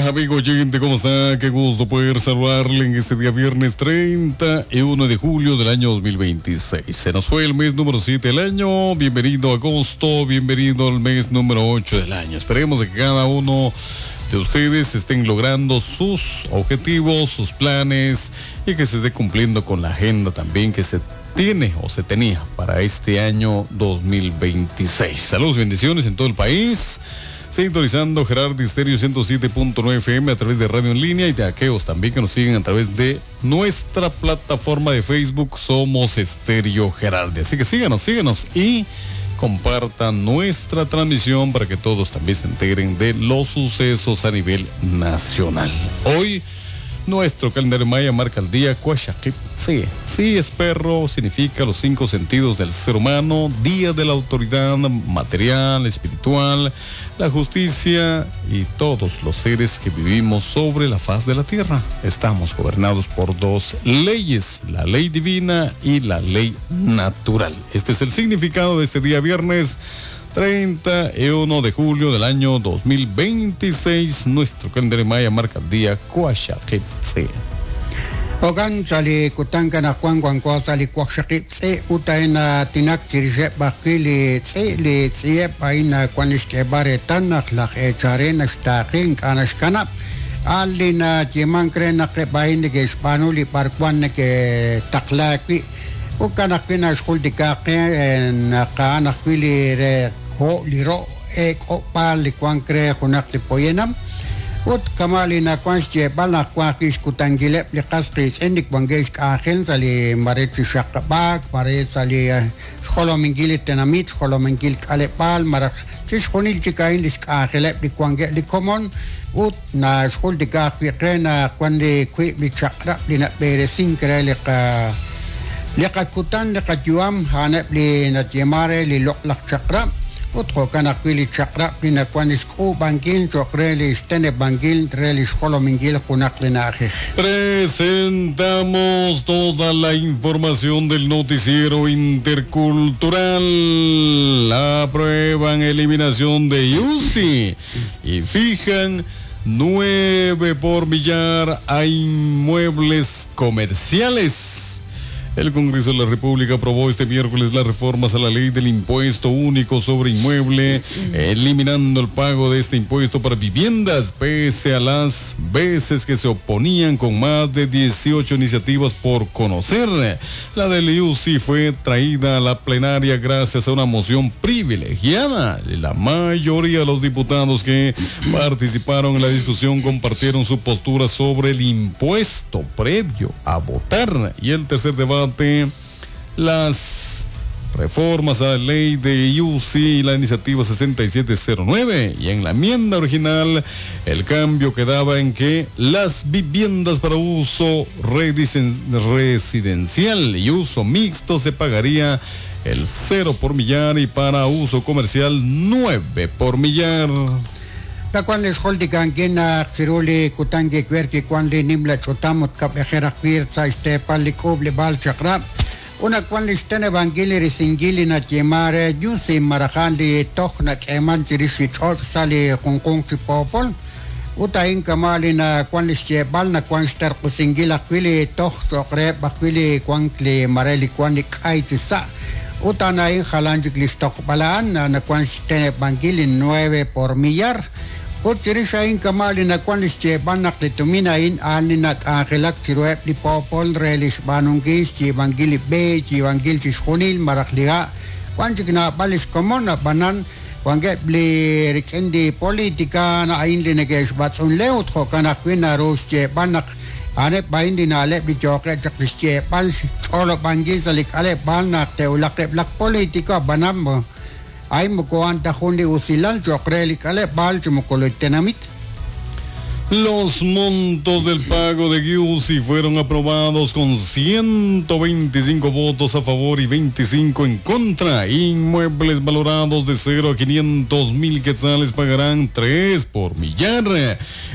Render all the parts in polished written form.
días, amigo oyente. ¿Cómo está? Qué gusto poder saludarle en este día viernes 31 de julio del año 2026. Se nos fue el mes número 7 del año. Bienvenido a agosto, bienvenido al mes número 8 del año. Esperemos que cada uno de ustedes estén logrando sus objetivos, sus planes y que se esté cumpliendo con la agenda también que se tiene o se tenía para este año 2026. Saludos, bendiciones en todo el país. Sintonizando Gerardi Estéreo 107.9 FM a través de radio en línea y de aquellos también que nos siguen a través de nuestra plataforma de Facebook Somos Estéreo Gerardi. Así que síganos, síganos y compartan nuestra transmisión para que todos también se integren de los sucesos a nivel nacional. Hoy nuestro calendario maya marca el día Cuaxaquip. Sí, sí es perro, significa los 5 sentidos del ser humano, día de la autoridad material, espiritual, la justicia y todos los seres que vivimos sobre la faz de la tierra. Estamos gobernados por 2 leyes, la ley divina y la ley natural. Este es el significado de este día viernes 31 de julio del año 2026. Nuestro calendario maya marca el día Cuaxaquiptze. Ogan sali kutanka na kwan kwan kwa sali Cuaxaquiptze uta ena tinak chirixe bakili tze li tzie paina kwanishkebare tanach laj echarena xtaqin k'anaxkanab alina yimankre naq bain que xb'anuli barkwan que taqlaqui ukanaqina xjuldikaqe naqanaqwili re ho liro ek'opal li kuankre junaq li poyenam ut kamali na kwan xyeb'al naq kwan kixkutankileb li qas qiitz'in li kuankex k'anjel sa li mare chi xaqab'ak mare sa li xjolominkil li tenamit xjolominkil k'aleb'al maraj chi xjunil chik a'in li xk'anjeleb li kuankeb li komon ut na xjuldikaq wiqe na kwan li kwiib' li chaq'rab' li nab'eresin kre li qa li qakutan li qayuam haneb li natyemare li loq'laq chaq'rab' ut jo'kan ajwi' li chaq'rab' li nawan xk'uub'ankil cho'q re li xteneb'ankil re li xjolominkil junaq li na'ajej. Presentamos toda la información del noticiero intercultural. Aprueban eliminación de UCI y fijan 9 por millar a inmuebles comerciales. El Congreso de la República aprobó este miércoles las reformas a la ley del impuesto único sobre inmueble, eliminando el pago de este impuesto para viviendas, pese a las veces que se oponían con más de 18 iniciativas por conocer. La del UCI fue traída a la plenaria gracias a una moción privilegiada. La mayoría de los diputados que participaron en la discusión compartieron su postura sobre el impuesto previo a votar. Y el tercer debate, las reformas a la ley de UCI y la iniciativa 6709, y en la enmienda original el cambio quedaba en que las viviendas para uso residencial y uso mixto se pagaría el 0 por millar y para uso comercial 9 por millar. Takuan les holdikan quien chiruli kutangi kwerki kuan li nimla chutamut kap ejeraqpir tsa istepal li k'uub li b'al chaqrab' una kuan li xteneb'ankil li risinkil li natyemare yusi marajan li toj nak'eman chirix li ch'och' sa li junjunq chi poopol ut a'in kama' li nakuan li xyeb'al nakuan xtarq'usinkil ajwi' li toj cho'q reheb' ajwi' li kuan li mare li kuan li k'ay chi sa' ut a'an jalan chik li xtojb'al a'an nakuan xteneb'ankil li 9 por millar. Ut chirix a'in kama' li nakuan li xyeb'al naq li tumin a'in a'an li nak'anjelak chiruheb' li poopol re li xb'aanunkil xyiib'ankil li b'e xyiib'ankil chi xjunil maraj li ha' wan chik naab'al li xkomon ab'anan wankeb' li rik'in li politika a'in li neke'xb'atz'unle ut jo'kan ajwi' naru xyeb'al naq a'aneb' a'in li na'leb' li yooqeb' chaq li xyeb'al xch'olob'ankil sa' li k'aleb'aal naq te'wulaqeb' laj político ab'anan ay moko anta jun li usilal cho'q re li k'aleb'aal chi moko li tenamit. Los montos del pago de UCI fueron aprobados con 125 votos a favor y 25 en contra. Inmuebles valorados de 0 a 500 mil quetzales pagarán 3 por millar.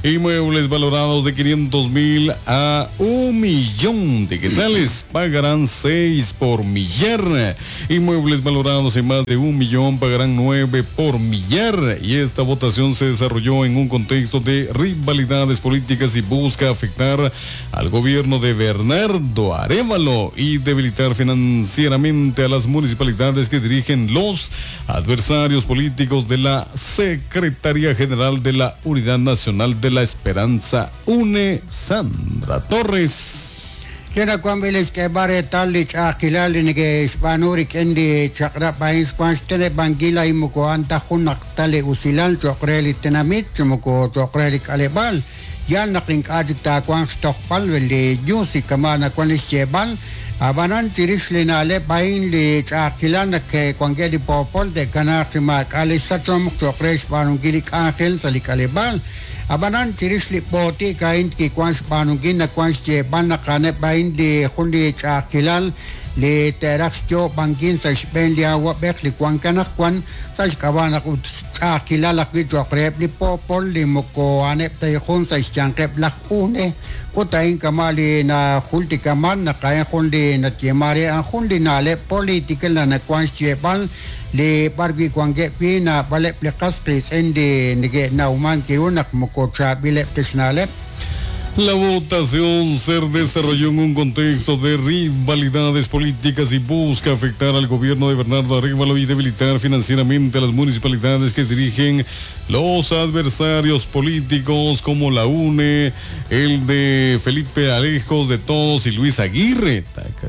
Inmuebles valorados de 500 mil a 1 millón de quetzales pagarán 6 por millar. Inmuebles valorados en más de 1 millón pagarán 9 por millar. Y esta votación se desarrolló en un contexto de rivalidades políticas y busca afectar al gobierno de Bernardo Arévalo y debilitar financieramente a las municipalidades que dirigen los adversarios políticos de la Secretaría General de la Unidad Nacional de la Esperanza, UNE, Sandra Torres. Kena kwan bilis ke bare tal li ch'a'ajkilal li neke'xb'aanu rik'in li chaq'rab' a'in xwan xteneb'ankil a'in moko a'an ta jun naq ta li usilal cho'q re li tenamit chi moko cho'q re li k'aleb'aal yal naq ink'a' chik taawanq xtojb'al li UCI kama' nawan li xyeeb'al ab'anan chirix li na'leb' a'in li ch'a'ajkilal naq wankeb' li poopol te'kanaaq chi maak'a' li xsachomq cho'q re xb'aanunkil li k'anjel sa' li k'aleb'aal ab'anan chirix li b'ootik a'in kiwan xb'aanunkil nawan xyeeb'al naq a'aneb' a'in li jun li ch'a'ajkilal li te'raj xyoob'ankil sa' xb'een li awab'ej li wan kanaq wan sa' xk'ab'a' naq ut ch'a'ajkilal ajwi' cho'q reheb' li poopol li moko a'aneb' ta jun sa' xyanqeb' laj UNE ut a'in kama' li najultikaman naq a'in jun li natyema re a'an jun li na'leb' política la nawan xyeeb'al li b'ar wi' wankeb' wi' naab'aleb' li qas qiitz'in li neke'nawman kiru naq moko chaab'ileb' ta xna'leb'. La votación se desarrolló en un contexto de rivalidades políticas y busca afectar al gobierno de Bernardo Arévalo y debilitar financieramente a las municipalidades que dirigen los adversarios políticos como la UNE, el de Felipe Alejos de Todos y Luis Aguirre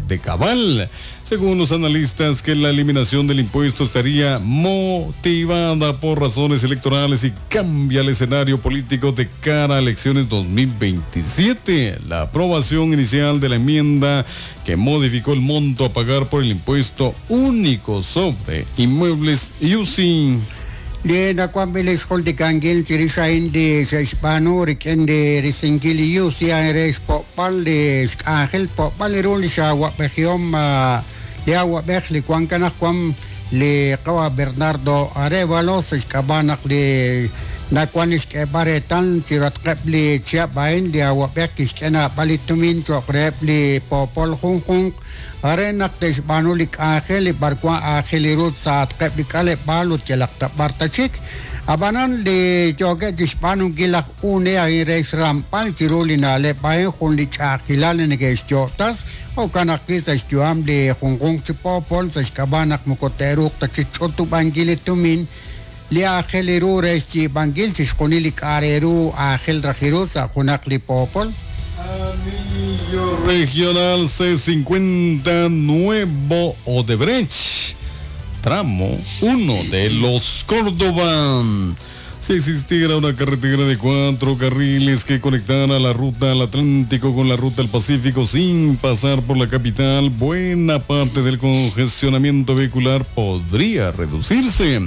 de Cabal. Según los analistas, que la eliminación del impuesto estaría motivada por razones electorales y cambia el escenario político de cara a elecciones 2027. La aprobación inicial de la enmienda que modificó el monto a pagar por el impuesto único sobre inmuebles UCI. Li nawan b'i li xjultikankil chirix a'in li xe'xb'aanu rik'in li risinkil li UCI a'in re xpo'pal li xk'anjel po'pal ru li xawab'ejihom li awab'ej li wan kanaq wan li qawa Bernardo Arévalo sa' xk'ab'a' naq li nawan li xk'eeb'al reetal chiratqeb' li chihab' a'in li awab'ej kixk'e naab'al li tumin cho'q reheb' li poopol junjunq are naq te'xb'aanu li k'anjel li b'ar wan aajel ru sa'atqeb' li k'aleb'aal ut yalaq ta b'ar ta chik ab'anan li yookeb' chixb'aanunkil laj UNE a'in re xramb'al chiru li na'leb' a'in jun li ch'a'ajkilal li neke'xyo'tas jo'kan ajwi' sa' xyu'am li junjunq chi poopol sa' xk'ab'a' naq moko te'ruuq ta chixch'utub'ankil li tumin li aajel ru re xyiib'ankil chixjunil li k'a' re ru aajel raj ru sa' junaq li poopol. Anillo Regional C50 Nuevo Odebrecht, tramo 1 de los Córdoba. Si existiera una carretera de 4 carriles que conectara la ruta al Atlántico con la ruta al Pacífico sin pasar por la capital, buena parte del congestionamiento vehicular podría reducirse.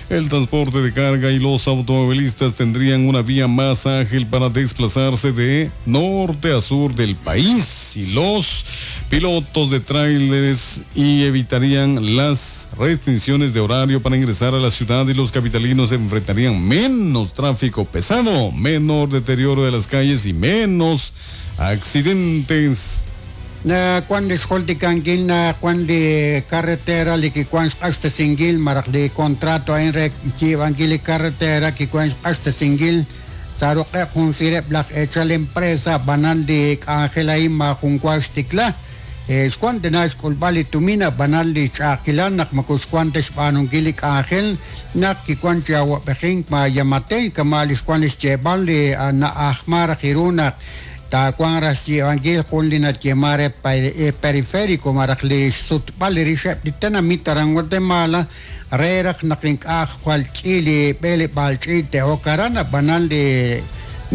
El transporte de carga y los automovilistas tendrían una vía más ágil para desplazarse de norte a sur del país y los pilotos de tráileres y evitarían las restricciones de horario para ingresar a la ciudad y los capitalinos enfrentarían menos tráfico pesado, menor deterioro de las calles y menos accidentes. Na kwan li xjultikankil na kwan li carretera li kikuan xq'axtesinkil maraj li contrato a'in re xyiib'ankil li carretera kikuan xq'axtesinkil sa' ruq'eb' jun sireb' laj eechal empresa b'anan li k'anjel a'in majun wa xtikla xwan tana xk'ulb'al li tumin ab'anan li ch'a'ajkilal naq moko xwan ta xb'aanunkil li k'anjel naq kikuan chi awab'ejink ma Giammattei kama' li xwan li xyeeb'al li na'ajma raj ru naq taawan raj xyiib'ankil jun li natyema re periférico maraj li xsutb'al li rixeb' li tenamit aran Guatemala re raj naq ink'a' jwal k'i li b'eleb'aal ch'iich' te'ok aran ab'anan li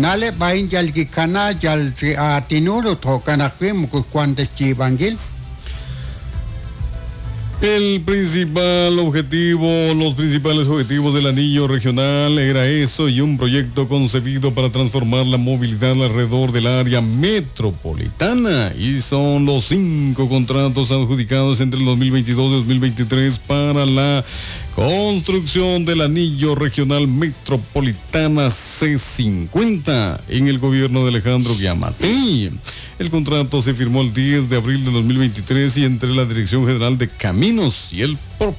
na'leb' a'in yal kikana yal chi aatinul ut jo'kan ajwi' moko xwan ta xyiib'ankil. El principal objetivo, los principales objetivos del anillo regional era eso y un proyecto concebido para transformar la movilidad alrededor del área metropolitana. Y son los 5 contratos adjudicados entre el 2022 y 2023 para la construcción del anillo regional metropolitana C50 en el gobierno de Alejandro Giammattei. El contrato se firmó el 10 de abril de 2023 y entre la Dirección General de Caminos y el propietario